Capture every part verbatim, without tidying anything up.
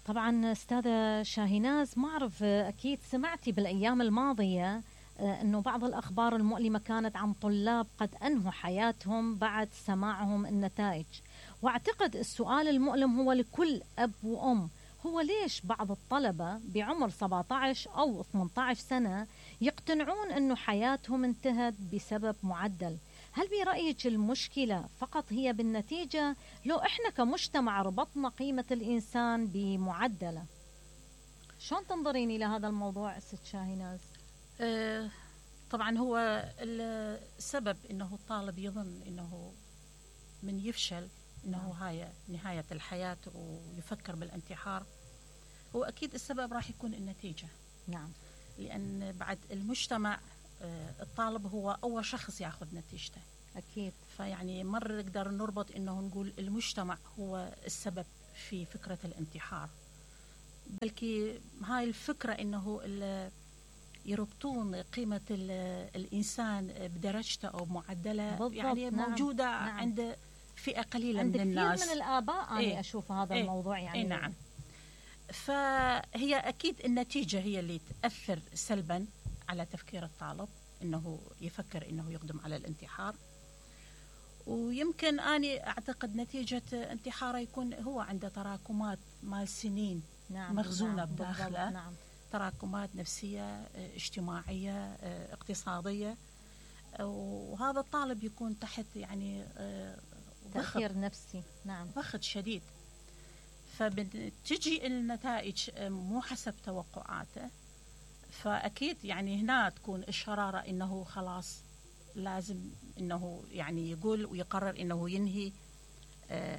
طبعا أستاذة شاهيناز، ما أعرف أكيد سمعتي بالأيام الماضية أنه بعض الأخبار المؤلمة كانت عن طلاب قد أنهوا حياتهم بعد سماعهم النتائج. وأعتقد السؤال المؤلم هو لكل أب وأم، هو ليش بعض الطلبة بعمر سبعة عشر أو ثمانية عشر سنة يقتنعون أنه حياتهم انتهت بسبب معدل؟ هل برأيك المشكلة فقط هي بالنتيجة، لو إحنا كمجتمع ربطنا قيمة الإنسان بمعدله؟ شلون تنظرين إلى هذا الموضوع ست شاهيناز؟ أه طبعا هو السبب إنه الطالب يظن إنه من يفشل إنه هاي نهاية الحياة ويفكر بالانتحار، هو أكيد السبب راح يكون النتيجة. نعم. لأن بعد المجتمع الطالب هو أول شخص يأخذ نتيجته. أكيد. فيعني مرة نقدر نربط إنه نقول المجتمع هو السبب في فكرة الانتحار، بلكي هاي الفكرة إنه يربطون قيمة الإنسان بدرجته أو معدله، يعني نعم. موجودة نعم. عند فئة قليلة عند من الناس، عند كثير من الآباء. أنا إيه؟ أشوف هذا إيه؟ الموضوع يعني إيه نعم. فهي أكيد النتيجة هي اللي تأثر سلبا على تفكير الطالب إنه يفكر إنه يقدم على الانتحار. ويمكن أنا أعتقد نتيجة انتحاره يكون هو عنده تراكمات مال سنين. نعم. مخزونة نعم. بداخله. نعم. تراكمات نفسية، اجتماعية، اقتصادية، وهذا الطالب يكون تحت يعني تأثير نفسي. نعم. ضغط شديد، فبتجي النتائج مو حسب توقعاته، فأكيد يعني هنا تكون الشرارة إنه خلاص لازم إنه يعني يقول ويقرر إنه ينهي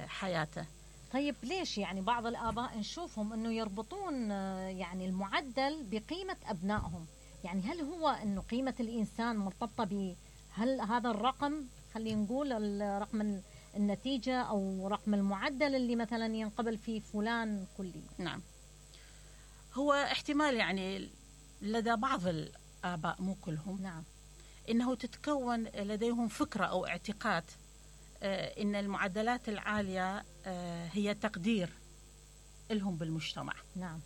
حياته. طيب ليش يعني بعض الآباء نشوفهم إنه يربطون يعني المعدل بقيمة أبنائهم؟ يعني هل هو إنه قيمة الإنسان مرتبطة ب هل هذا الرقم، خلينا نقول الرقم النتيجة أو رقم المعدل اللي مثلا ينقبل فيه فلان كلي؟ نعم، هو احتمال يعني لدى بعض الآباء مو كلهم. نعم. إنه تتكون لديهم فكرة أو اعتقاد آه إن المعدلات العالية آه هي تقدير لهم بالمجتمع. نعم.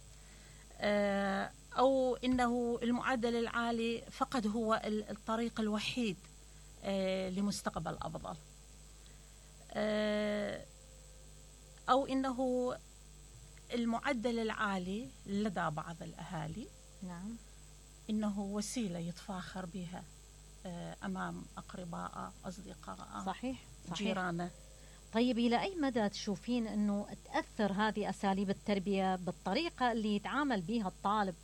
آه أو إنه المعدل العالي فقط هو الطريق الوحيد آه لمستقبل أفضل، آه أو إنه المعدل العالي لدى بعض الأهالي نعم إنه وسيلة يتفاخر بها أمام أقرباء، أصدقاء، صحيح. صحيح. جيرانه. طيب إلى أي مدى تشوفين أنه تأثر هذه أساليب التربية بالطريقة اللي يتعامل بها الطالب،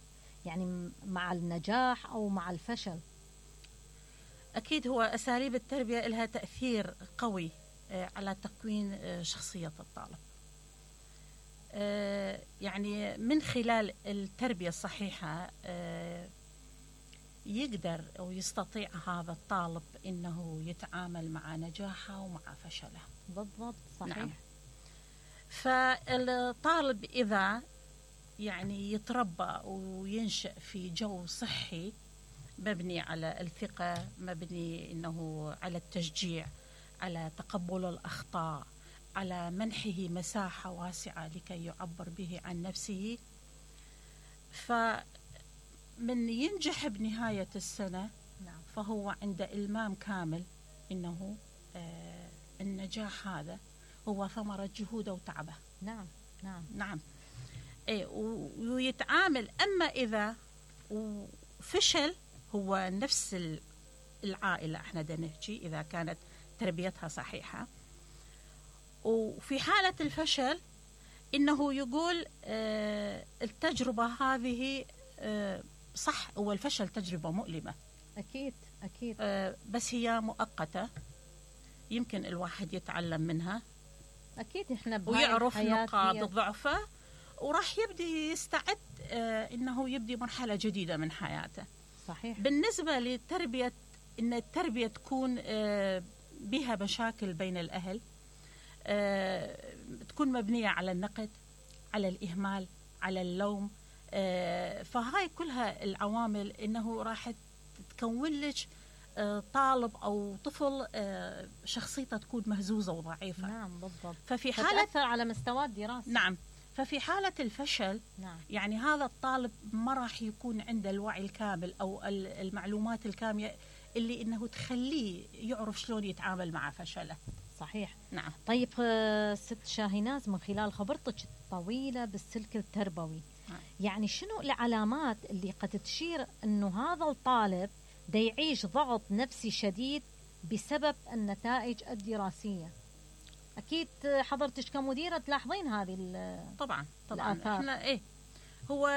يعني مع النجاح أو مع الفشل؟ أكيد هو أساليب التربية لها تأثير قوي على تكوين شخصية الطالب. يعني من خلال التربية الصحيحة يقدر أو يستطيع هذا الطالب إنه يتعامل مع نجاحه ومع فشله. بالضبط. صحيح. نعم. فالطالب إذا يعني يتربى وينشأ في جو صحي مبني على الثقة، مبني إنه على التشجيع، على تقبل الأخطاء، على منحه مساحة واسعة لكي يعبر به عن نفسه، فمن ينجح بنهاية السنة نعم. فهو عنده إلمام كامل إنه آه النجاح هذا هو ثمرة جهوده وتعبه. نعم. نعم. نعم. إيه، ويتعامل. أما إذا فشل، هو نفس العائلة احنا دا نحكي إذا كانت تربيتها صحيحة، وفي حالة الفشل إنه يقول آه التجربة هذه آه صح، هو الفشل تجربة مؤلمة أكيد. أكيد. آه بس هي مؤقتة، يمكن الواحد يتعلم منها. أكيد إحنا ويعرف نقاط ضعفه وراح يبدي يستعد آه إنه يبدي مرحلة جديدة من حياته. صحيح. بالنسبة للتربية، إن التربية تكون آه بها مشاكل بين الأهل، آه تكون مبنية على النقد، على الإهمال، على اللوم، آه فهاي كلها العوامل إنه راح تكون لك آه طالب أو طفل آه شخصيته تكون مهزوزة وضعيفة. نعم بالضبط. ففي حالة تأثر على مستوى الدراسة. نعم. ففي حالة الفشل نعم. يعني هذا الطالب ما راح يكون عنده الوعي الكامل أو المعلومات الكاملة اللي إنه تخليه يعرف شلون يتعامل مع فشله. صحيح. نعم. طيب ست شاهيناز، من خلال خبرتك الطويلة بالسلك التربوي، نعم. يعني شنو العلامات اللي قد تشير إنه هذا الطالب دا يعيش ضغط نفسي شديد بسبب النتائج الدراسية؟ أكيد حضرتك كمديرة تلاحظين هذه طبعا طبعا الآثار. احنا ايه هو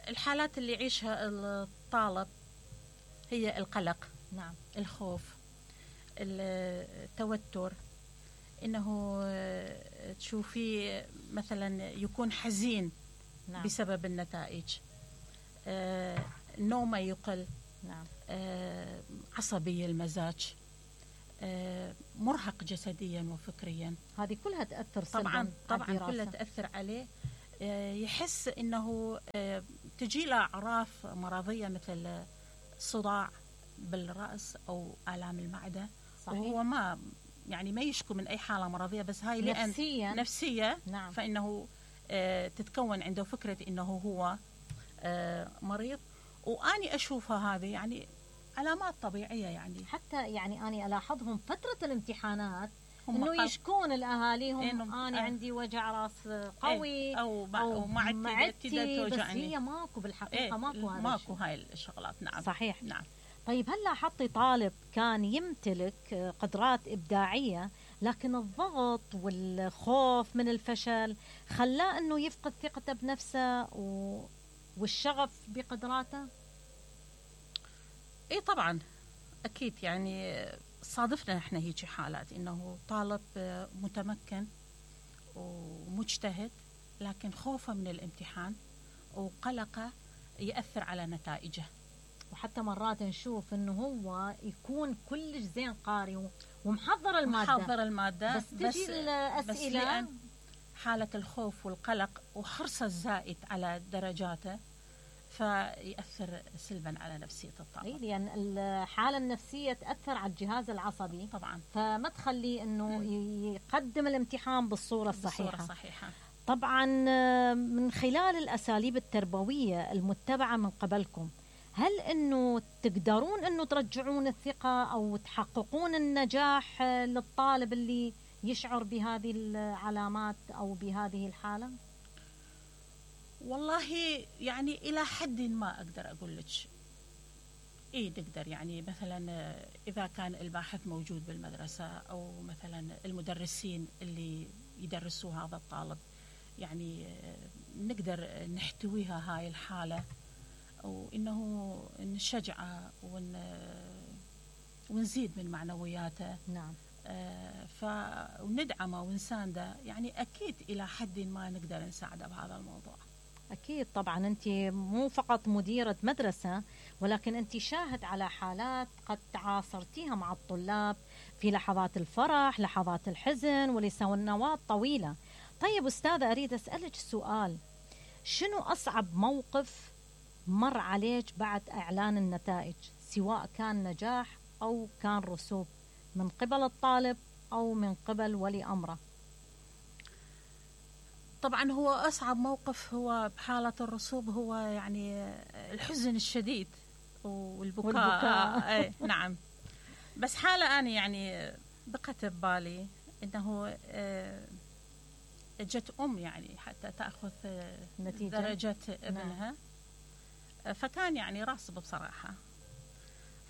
الحالات اللي يعيشها الطالب هي القلق، نعم، الخوف، التوتر، انه تشوفيه مثلا يكون حزين، نعم، بسبب النتائج، آه، نومه يقل، نعم، آه، عصبي المزاج، آه، مرهق جسديا وفكريا. هذه كلها تأثر سلبا. طبعا طبعا كلها تأثر عليه. آه، يحس انه آه، تجي له اعراف مرضيه مثل صداع بالرأس او آلام المعدة. صحيح. وهو ما يعني ما يشكو من اي حاله مرضيه، بس هاي لان نفسيا نفسيه، نعم. فانه آه، تتكون عنده فكره انه هو آه، مريض. واني اشوفها هذه يعني علامات طبيعيه. يعني حتى يعني اني الاحظهم فتره الامتحانات انه يشكون الاهاليهم إنه انا آه عندي وجع راس قوي، ايه او, أو معدتي، بس هي ماكو بالحقيقه. ايه ماكو هذا ماكو هاي الشغلات. نعم. صحيح. نعم. طيب هل لاحظتي طالب كان يمتلك قدرات ابداعيه لكن الضغط والخوف من الفشل خلاه انه يفقد ثقته بنفسه و... والشغف بقدراته؟ اي طبعا اكيد. يعني صادفنا احنا هيك حالات انه طالب متمكن ومجتهد لكن خوفه من الامتحان وقلقه يأثر على نتائجه. وحتى مرات نشوف انه هو يكون كلش زين قاري ومحضر الماده محضر الماده بس تجي بس الاسئله بس حاله الخوف والقلق وحرصه الزائد على درجاته فيأثر سلبا على نفسية الطالب. اي لأن الحالة النفسية تأثر على الجهاز العصبي طبعا، فما تخليه انه يقدم الامتحان بالصورة الصحيحة. بالصورة الصحيحة. طبعا من خلال الأساليب التربوية المتبعة من قبلكم، هل انه تقدرون انه ترجعون الثقة او تحققون النجاح للطالب اللي يشعر بهذه العلامات او بهذه الحالة؟ والله يعني إلى حد ما أقدر أقول لك إيه نقدر. يعني مثلا إذا كان الباحث موجود بالمدرسة أو مثلا المدرسين اللي يدرسوا هذا الطالب، يعني نقدر نحتويها هاي الحالة وإنه نشجعه ون ونزيد من معنوياته. نعم. آه فندعمه ونسانده. يعني أكيد إلى حد ما نقدر نساعده بهذا الموضوع. أكيد طبعا. أنت مو فقط مديرة مدرسة ولكن أنت شاهد على حالات قد تعاصرتيها مع الطلاب في لحظات الفرح، لحظات الحزن، ولسنوات طويلة. طيب أستاذة، أريد أسألك سؤال، شنو أصعب موقف مر عليك بعد إعلان النتائج، سواء كان نجاح أو كان رسوب من قبل الطالب أو من قبل ولي أمره؟ طبعا هو أصعب موقف هو بحالة الرسوب هو يعني الحزن الشديد والبكاء, والبكاء. اي نعم. بس حالة أنا يعني بقت ببالي إنه جت أم يعني حتى تأخذ نتيجة درجة ابنها. نعم. فكان يعني راسب بصراحة،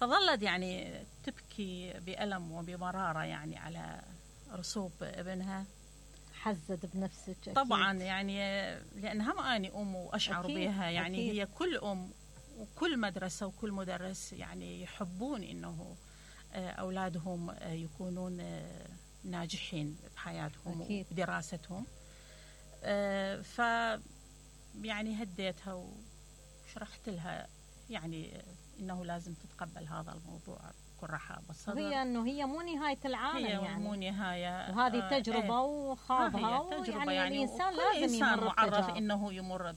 فظلت يعني تبكي بألم وبمرارة يعني على رسوب ابنها. حزت بنفسك أكيد. طبعا يعني لأنها ما أني أم وأشعر أكيد بها. يعني أكيد. هي كل أم وكل مدرسة وكل مدرس يعني يحبون إنه أولادهم يكونون ناجحين بحياتهم أكيد. ودراستهم. ف يعني هديتها وشرحت لها يعني إنه لازم تتقبل هذا الموضوع بكل رحاب بالصدر. وهي إنه هي مو نهاية العالم، هي يعني مو نهاية، وهذه تجربة آه وخاضها. ويعني يعني الإنسان لازم إنسان معرف إنه يمر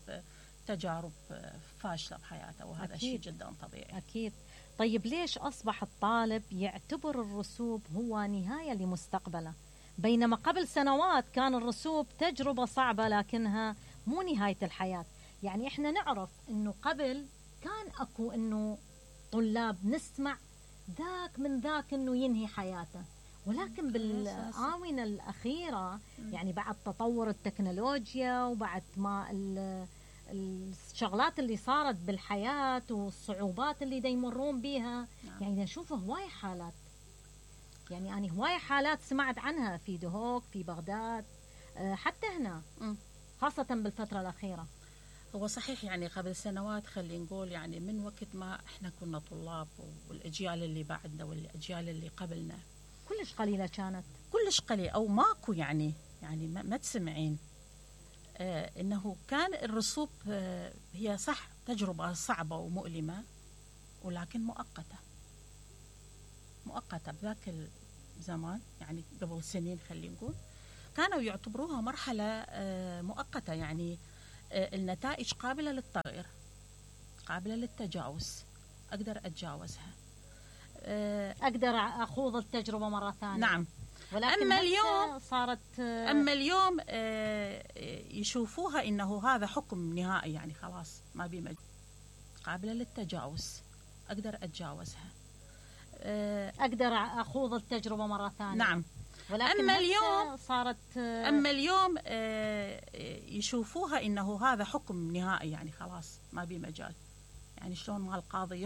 بتجارب فاشلة بحياته، وهذا شيء جدا طبيعي. أكيد. طيب ليش أصبح الطالب يعتبر الرسوب هو نهاية لمستقبله، بينما قبل سنوات كان الرسوب تجربة صعبة لكنها مو نهاية الحياة. يعني إحنا نعرف إنه قبل كان أكو إنه طلاب نسمع ذاك من ذاك إنه ينهي حياته، ولكن بالآونة الأخيرة يعني بعد تطور التكنولوجيا وبعد ما الشغلات اللي صارت بالحياة والصعوبات اللي دا يمرون بيها، يعني نشوف هواي حالات. يعني أنا هواي حالات سمعت عنها في دهوك، في بغداد، حتى هنا خاصة بالفترة الأخيرة. هو صحيح يعني قبل سنوات خلينا نقول يعني من وقت ما احنا كنا طلاب والأجيال اللي بعدنا والأجيال اللي قبلنا كلش قليلة كانت، كلش قليل أو ماكو يعني يعني ما, ما تسمعين آه إنه كان الرسوب آه هي صح تجربة صعبة ومؤلمة ولكن مؤقتة مؤقتة بذاك الزمان يعني قبل سنين خلينا نقول كانوا يعتبروها مرحلة آه مؤقتة، يعني آه النتائج قابلة للتغيير قابلة للتجاوز، أقدر أتجاوزها، آه أقدر أخوض التجربة مرة ثانية. نعم. ولكن أما اليوم صارت آه أما اليوم آه يشوفوها إنه هذا حكم نهائي، يعني خلاص ما بي مجال، قابلة للتجاوز، أقدر أتجاوزها، آه أقدر أخوض التجربة مرة ثانية. نعم. ولكن أما اليوم صارت أما اليوم يشوفوها إنه هذا حكم نهائي، يعني خلاص ما بي مجال، يعني شلون ما القاضي